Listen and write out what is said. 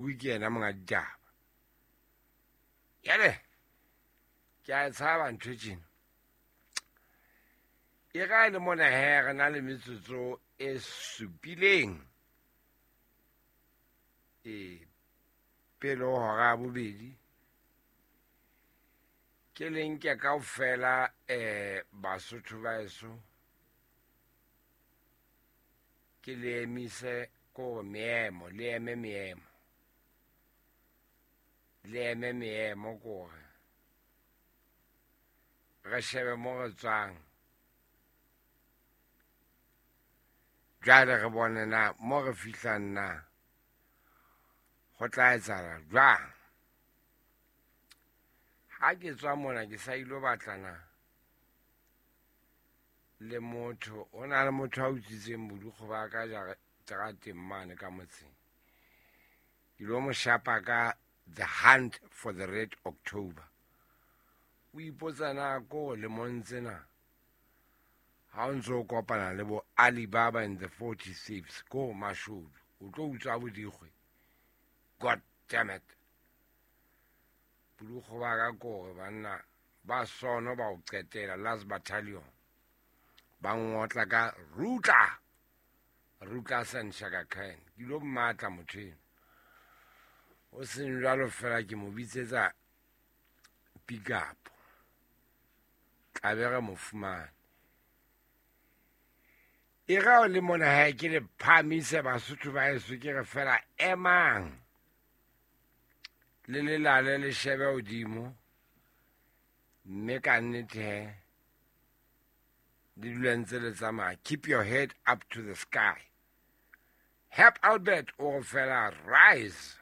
Ke yena monga ditaba. Jale ke a e tshaba ntho e tjena. E ga e le mona he re na le metsotso e supileng e pele ho hora ya bobedi. Ke le nke kaofela Basotho ba eso, ke le emise ko meemo, le eme meemo, le eme meemo kore re shebe mo re tswang. Jwale re bone na mo re fihlang na ho tla etsahala jwang. Ha ke tswa mona ke sa ilo batlana le motho, ho na le motho a utswitseng bodukgo ba ka jarateng mane ka motseng. Ke lo mo shapa ka The Hunt for the Red October. O ipotsa na ko lemong tsena ha o ntso o kopana le bo Alibaba and the 40 Thieves ko mashodu, o tlo utswa bodikgwe. God damn it. Bodukgo ba ka kore banna ba sono ba o qetela last battalion. Ba ngotla ka Rutla. Rutla San Shaka Khan. Ke lo mmatla motho eno. O seng jwalo fela ke mo bitsetsa pick up. Tla be re mo fumane. E ga o le mona hae ke le phamise Basotho ba heso, ke re fela emang le lelale le shebe hodimo, mme ka nnete he le dule ntse le tsamaya. Keep your head up to the sky. Herb Albert o re fela rise.